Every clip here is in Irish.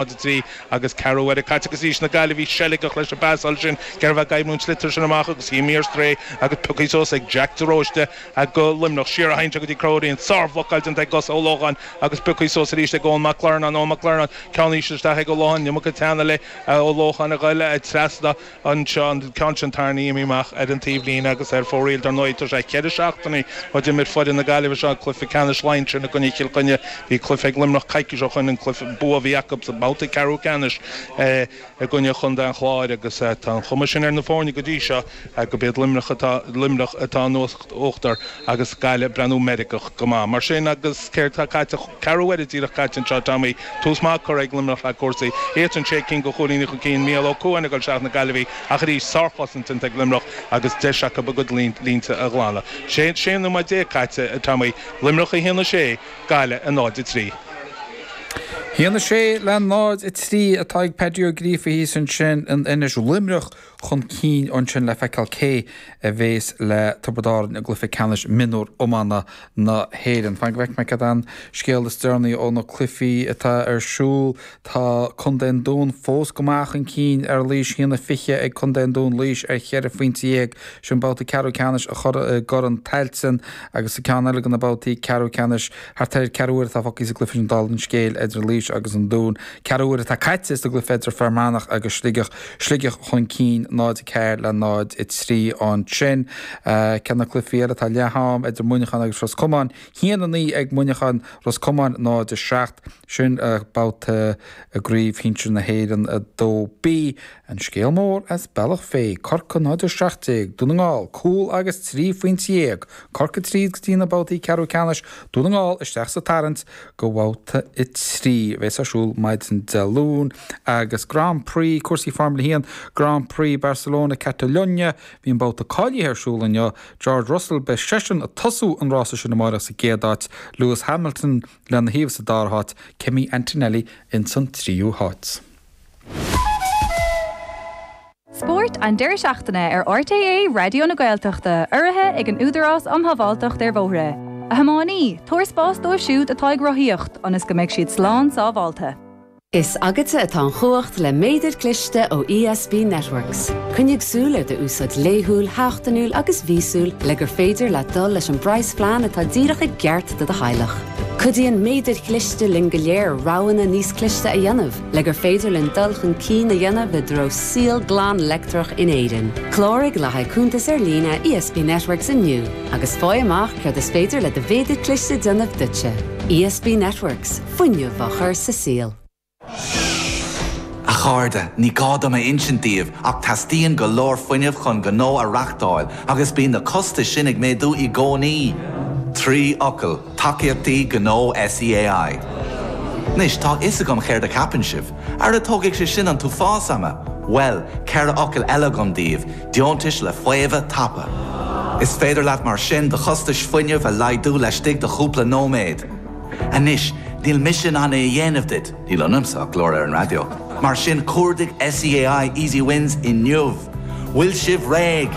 0-3 agus ceathrú uaire caite agus arís na Gaillimhigh seilgeach leis an bpasáil sin cé raibh ag oibriú an sliotar sin amach agus imithe ar strae agus pioctha suas ag Jack de Róiste do Luimneach. Siar a théann sé go dtí Conchúr Ó Riain. Sárbhlocáil déanta ag Gus Ó Lócháin agus pioctha suas arís ag Eoin Mac Lornáin. Eoin Mac Lornáin, ceann íseal isteach ag Ó Lócháin, iomarca teanna le Ó Lócháin a ghoil trasna. Anseo, an ceann sin tarraingthe imithe amach ar an taobhlíne agus ar fóraoil. Dar ndóigh, tá sé cheithre seachtainí ó d'imir foireann na Gaillimhe seo cluiche ceannais Laighean sin i gcoinne Chill Chainnigh. Bhí cluiche ag Luimneach coicís ó shoin, an cluiche bua a bhí acu sa mbabhta ceathrú ceannais i gcoinne Chontae an Chláir agus tá an chuma sin ar na foirne go dtí seo gurb iad Luimneach atá Luimneach atá in uachtar agus Gaillimh ag breathnú meirgeach go maith. Mar sin agus céard tá caite? Ceathrú uaire díreach caite anseo, Tommy. Tús maith curtha ag Luimneach le cúrsaí. Iadsan sé cinn de chúilíní chun cinn. Mícheál Ó Cuain ag dul isteach na Gaillimhigh ach arís sárchosaint déanta ag Luimneach agus deis acu a gcuid línte a ghlanadh. 16 nóiméad caite, Tommy. Luimneach 1, 6, Gaillimh 0, 3. 1, 6 le 0, 3 atá ag Paddy Ó Gríofa thíos ansin in Inis. Luimneach chun cinn ansin le feiceáil cé a bhéas le Tiobraid Árann i gcluiche ceannais mionúr iomána na hÉireann. Fan go bhfeicfidh mé cad é an scéal is deireanaí ó na cluichí atá ar siúl. Tá Contae an Dúin fós go maith chun cinn ar Laois, 1-20 ag Contae an Dúin, Laois ar cheithre phointe dhéag. Sin babhta ceathrú ceannais i gCorn Tailteann agus sa ceann eile de na babhtaí ceathrú ceannais thart ar ceathrú uaire atá fágtha sa gcluiche sin dála an scéil idir Laois agus an Dún. Ceathrú uaire atá caite sa gcluiche idir Fear Manach agus Sligeach. Sligeach chun cinn 0-4 le 0-3 ansin. Ceann de na cluichí eile atá leath am idir Muineachán agus Ros Comáin, 1-9 ag Muineachán, Ros Comáin 0-7. Sin babhta i gCraobh Shinsir na hÉireann 2B. An scéal mór as Bealach Féich, Corcaigh 0-17, Dún na nGall, cúl agus 13 phointe. Corcaigh tríd go dtí na babhtaí ceathrú ceannais, Dún na nGall isteach sa tarraingt go bhabhta 3 a bheas ar siúl maidin Dé Luain agus Grand Prix, cúrsaí Formula 1, Grand Prix Barcelona Catalunya, bhí an babhta cáilithe ar siúl inniu, George Russell, beidh seisean ag tosú an rása sin amárach sa gcéad áit, Lewis Hamilton lena thaobh sa dara háit, Kimi Antonelli ins an tríú háit. Spórt an deireadh seachtaine ar RTÉ Raidió na Gaeltachta, urraithe ag an Údarás um Shábháilteacht ar Bhóithre. A thiománaí, tabhair spás dóibh siúd atá ag rothaíocht ionas go mbeidh siad slán sábháilte. Is agatsa atá an chumhacht le méadar cliste ó ESB Networks. Coinnigh súil ar d'úsáid laethúil, sheachtainiúil agus mhíosúil le gur féidir leat dul leis an bpraghasphlean atá díreach i gceart do do theaghlach. Cuidíonn méadair chliste linn go léir roghanna níos cliste a dhéanamh. Le gur féidir linn dul chun cinn a dhéanamh i dtreo saol glan leictreach in Éirinn. Cláraigh le haghaidh cuntas ar líne ESB Networks inniu agus faigh amach céard is féidir le do mhéadar cliste déanamh duitse. ESB Networks, fuinneamh á chur sa saol. A chairde, ní gá dom a insint daoibh ach teastaíonn go leor fuinnimh chun gnó a reachtáil agus bíonn na costais sin ag méadú i gcónaí. 3 fhocal. Tacaíochtaí Gnó SEAI. Anois, tá a fhios agam céard a cheapann sibh. Ara tógfaidh sé sin an t-uafás ama! Bhuel, 4 fhocal eile agam daoibh, deontais le faomhadh tapa. Is féidir leat mar sin do chostais fuinnimh a laghdú laistigh de chúpla nóiméad. Anois, níl mise in ann é a dhéanamh duit, níl ionamsa ach glór ar an raidió, mar sin cuardaigh SEAI Easy Wins inniu! Bhfuil sibh réidh?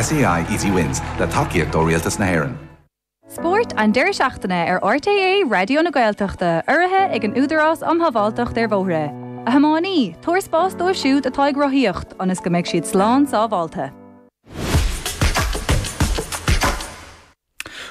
SEAI Easy Wins, le tacaíocht ó Rialtas na hÉireann. Spórt an deireadh seachtaine ar RTÉ Raidió na Gaeltachta, urraithe ag an Údarás um Shábháilteacht ar Bhóithre. A thiománaí, tabhair spás dóibh siúd atá ag rothaíocht ionas go mbeidh siad slán sábháilte.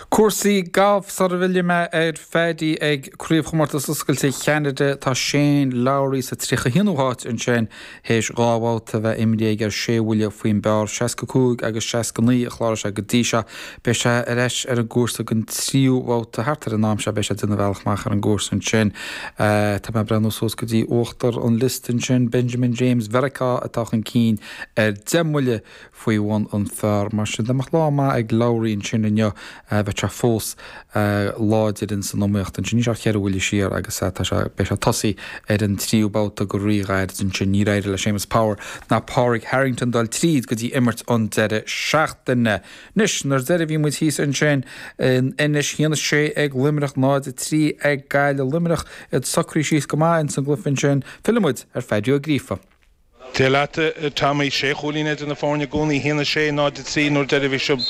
Cúrsaí gailf sara bhfillfidh mé ar Phaddy ag Craobhchomórtas Oscailte Cheanada. Tá Shane Lowry sa 31ú háit ansin théis dhá bhabhta a bheith imrithe aige ar sé bhuille faoin bpar, 65 agus 69 a chláraigh sé go dtí seo. Beidh sé ar ais ar an gcúrsa don tríú bhabhta thart ar an am seo. Beidh sé ag déanamh a bhealach amach ar an gcúrsa ansin. Tá mé ag breathnú suas go dtí uachtar an liosta ansin. Benjamin James Mheiriceá atá chun cinn ar 10 mbuille faoi bhun an phar. Mar sin, dá mbeadh lá maith ag Lowry ansin inniu, bheadh sé fós láidir ins an iomaíocht ansin. Níl sé ach cheithre bhuille siar agus tá sé, beidh sé ag tosaí ar an tríú babhta go ríghairid ansin. Níor éirigh le Séamus Power ná Pádraig Harrington dul tríd go dtí imirt an deireadh seachtaine. Anois, nuair deireadh bhí muid thíos ansin in Inis, 1-6 ag Luimneach, 0-3 ag Gaillimh. Luimneach iad socraithe síos go maith ins an gcluiche ansin. Fillfidh muid ar Phaddy Ó Gríofa. Dia leat, a Tommy. Sé chúilín idir na foirne i gcónaí, 1-6, 0-3 nuair deireadh bhí sibh,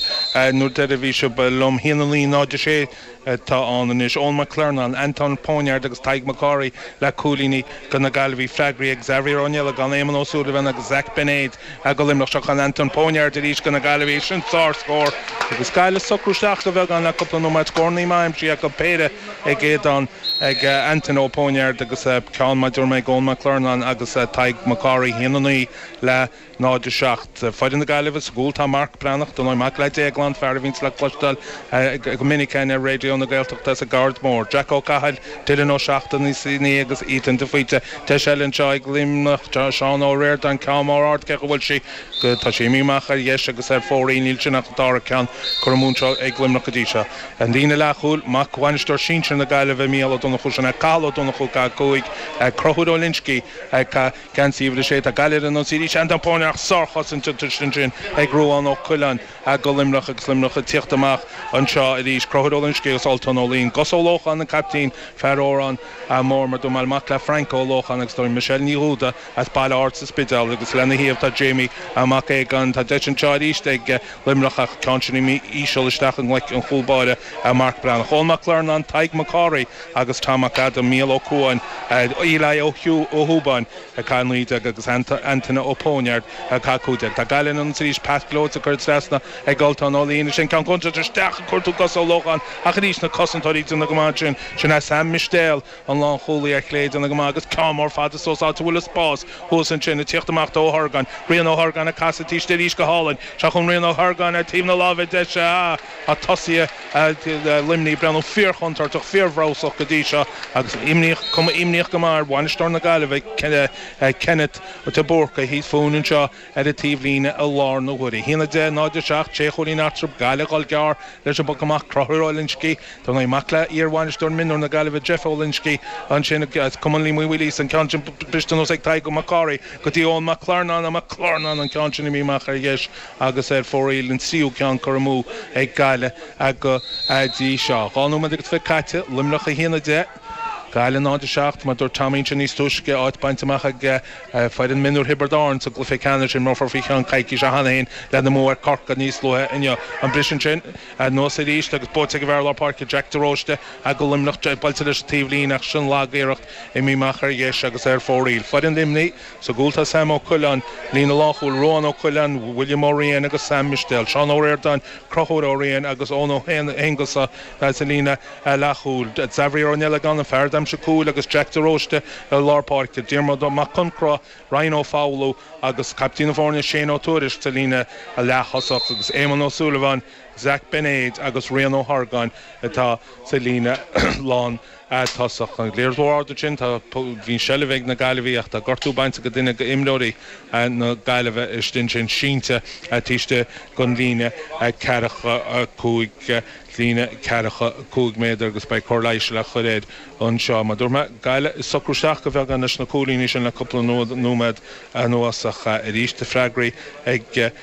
nuair deireadh bhí sibh liom, 1-9, 0-6. atá ann anois. Eoin McClernon, Anton Póineard agus Tadhg MacCárthaigh le cúilíní do na Gaillimhigh. Freagraí ag Xavier Ó Niallagáin, Éamonn Ó Súilleabháin agus Zach Beinéid do Luimneach. Seo chugainn Anton Póineard arís do na Gaillimhigh. Sin sár-scór agus Gaillimh ag socrú isteach de bheagán le cúpla nóiméad. Scórannaí maith aimsithe acu, péire ag Aodán, ag Anton Ó Póineard agus ceann mar a dúirt mé ag Eoin McClernon agus Tadhg MacCárthaigh. 1-9 le 0, 7. Foireann na Gaillimhe sa gcúl tá Marc Breathnach, dar ndóigh mac le Déaglán, fear a bhíonns le cloisteáil go minic againn ar Raidió na Gaeltachta as an gCaird Mhór, Jack Ó Cathail, Dylan Ó Seachnasaigh agus Ethan de Faoite. Deis eile anseo ag Luimneach, Seán Ó Ríordáin, ceann mór ard, cé chaoi bhfuil sí? Tá sí imithe amach ar dheis agus ar fóraoil, níl sin ach an dara ceann curtha amú anseo ag Luimneach go dtí seo. An líne leathchúil, mac bhainisteoir sinsir na Gaillimhe, Mícheál Ó Donnchú, sin é Cathal Ó Donnchú, 5, Conchúr Ó Loinsigh, Geansaí uimhir 6, tá Gaillimh ar an ionsaí arís. Anton Póineard sárchosaint ansin ag Ruadhán Ó Coileáin do Luimneach agus Luimneach ag tíocht amach anseo arís. Conchúr Ó Loinsigh agus Ultan Ó Laoin. Gus Ó Lócháin an caiptín, fear Órán Mór mar dúirt mé, mac le Frank Ó Lócháin agus tá Michelle Ní Dhúda as Baile Ard sa Spidéal agus lena thaobh tá Jamie Mac Aogáin. Tá deis anseo arís ag Luimneach ach ceann sin imithe íseal isteach i ngleic an chúl báire Marc Breathnach. Eoin Mac Clearnáin, Tadhg Mac Cárthaigh agus Tom Mac Adaim, Mícheál Ó Cuáin, Eli Ó hÚbáin ag caitheamh 19 agus Antaine Ó Póineard ag caitheamh 15. Tá Gaillimh ann arís, pas gleoite curtha trasna ag Ultan Ó Laoin. Sin ceann contúirteach isteach ag cuartú Gus Ó Lócháin ach arís na cosantóirí ag déanamh go maith ansin. Sin é Sam Mistéal, an lánchúlaí ar chlé ag déanamh go maith agus ceann mór fada suas áit a bhfuil an spás thuas ansin ag tíocht amach do Ó hOrgáin. Rian Ó hOrgáin ag casadh taobh istigh arís go hálainn. Seo chugainn Rian Ó hOrgáin ar taobh na láimhe deise. Ah! Tá tosaithe Luimnigh ag breathnú fíorchontúirteach, fíorbhreabhsach go dtí seo agus imníoch, cuma imníoch go maith ar bhainisteoir na Gaillimhe, Kenneth de Búrca, thíos fúinn anseo ar an taobhlíne i lár na huaire. 1-10, 0-7, sé chúilín eatarthu, Gaillimh ag dul gearr leis an bpoc amach, Conchúr Ó Loinsigh, dar ndóigh, mac le iar-bhainisteoir mionúir na Gaillimhe, Jeff Ó Loinsigh, ansin as Cumann Liam Uí Mhaoilíosa, an ceann sin briste anuas ag Tadhg Mac Cárthaigh go dtí Eoin Mac Clearnáin, Mac Clearnáin an ceann sin imithe amach ar dheis. agus ar fóraoil, an tríú ceann curtha amú ag Gaillimh go dtí seo. 2 nóiméad agus 20 caite, Luimneach 1-10, Gaillimh 0-7, mar dúirt Tommy ansin níos túisce, áit bainte amach ag foireann mionúir Thiobraid Árann sa gcluiche ceannais. Imreofar faoi cheann coicíse cheana féin lena mbua ar Corcaigh níos luaithe inniu. An briseadh ansin anuas arís agus buaite ag an bhfear lár páirce Jack de Róiste do Luimneach, buailte leis an taobhlíne ach sin lag-iarracht imithe amach ar dheis agus ar fóraoil. Foireann Luimnigh. Sa gcúl tá Sam Ó Coileáin, líne lánchúil, Ruán Ó Coileáin, William Ó Riain agus Sam Mistéal, Seán Ó Ríordáin, Conchúr Ó Riain agus Eoin Ó hAonghusa sa líne leathchúil, Xavier Ó Niallagáin, an fear a d'aimsigh cúil agus Jack de Róiste i lár páirce, Diarmuid Mac Concra, Ryan Ó Foghlú agus caiptín na foirne Shane Ó Tuairisg sa líne leath-thosach agus Éamonn Ó Súilleabháin, Zach Beinéid agus Rian Ó hOrgáin atá sa líne lán. tosach. An liathróid ard ansin, tá, bhí an seilbh ag na Gaillimhigh ach tá gortú bainte go duine d'imreoirí na Gaillimhe istigh ansin, sínte taobh istigh den líne ceathracha 5, líne ceathracha 5 méadar agus beidh cóir leighis le cur air anseo. Mar dúirt mé, Gaillimh ag socrú isteach go bheagán leis na cúilíní sin le cúpla nóiméad anuas ach arís tá freagraí ag,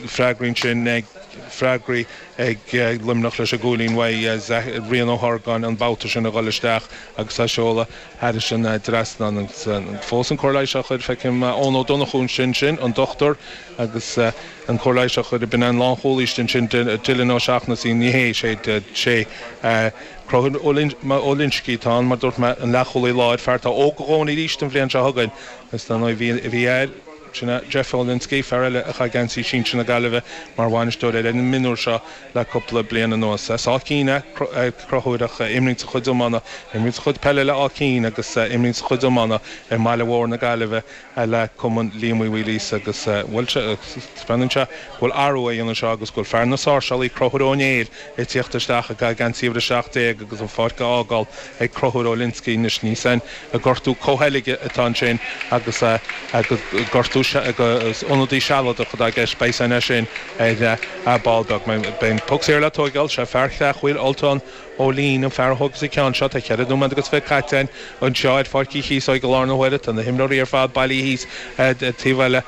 freagraí ansin ag, freagraí ag Luimneach leis an gcúilín uaidh Rian Ó hOrgáin an babhta sin a dhul isteach agus á seoladh thairis an dtrasnán agus fós an cóir leighis á chur, feicim Eoin Ó Donnchú ansin, sin an dochtúir agus an cóir leighis á chur, b'in an lánchúlaí ansin Dylan Ó Seachnasaigh, ní hé, sé, sé Conchúr Ó Loinsigh atá ann mar dúirt mé, an leathchúlaí láir, fear atá óg a dhóthain arís don bhliain seo chugainn agus dar ndóigh bhí, bhí air. Sin é Jeff Olinsky, fear eile a chaith geansaí sinsir na Gaillimhe mar bhainisteoir ar an mionúr seo le cúpla bliain anuas. As Áth Cinn é Conchúr ach imríonn sa chuid iomána, imríonn sa chuid peile le Áth Cinn agus imríonn sa chuid iomána i mbaile mhór na Gaillimhe le Cumann Liam Uí Mhaoilíosa agus bhuel, taispeánann sé go bhfuil athrú á dhéanamh anseo agus go bhfuil fear na sáirseálaí Conchúr Ó Néill ag tíocht isteach ag caitheamh geansaí uimhir 17 agus an pháirc á fhágáil ag Conchúr Olinsky anois. Níl a fhios againn an gortú comhsheilge atá ansin agus gortú ionadaí sealadach atá i gceist. Beidh a fhios againn é sin ar ball beag. Beidh an poc saor le tóigeáil. Sé fear Chreachmhaoil, Ultan Ó Lín, an fear a thógfas an ceann seo. Tá cheithre nóiméad agus 20 caite againn anseo ar Pháirc Uí Chíosóig i lár na huaire. Tá na himreoirí ar fad bailithe thíos taobh eile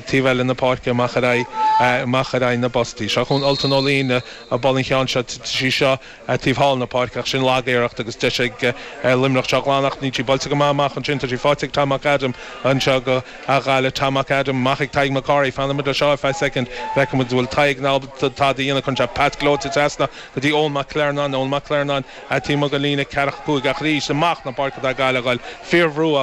taobh eile na páirce amach ar aghaidh amach ar aghaidh na bpostaí. Seo chugainn Ultan Ó Lín ag bualadh an cheann seo. Sí seo taobh thall na páirce ach sin lag-iarracht agus deis ag Luimneach seo a ghlanadh ach níl sí buailte go maith amach ansin. Tá sí faighte ag Tom McAdam anseo go Ghaillimh. Tom McAdam amach ag Tadhg MacCárthaigh. Fanfaimid leis seo ar feadh soicind. Feicfimid an bhfuil Tadhg in ann tada a dhéanamh. Cuireann sé pas gleoite trasna go dtí Eoin McClernon. Eoin Mac Clearnáin taobh amuigh den líne 45 ach arís amach na páirce atá Gaillimh a ghoil. Fíorbhrú á.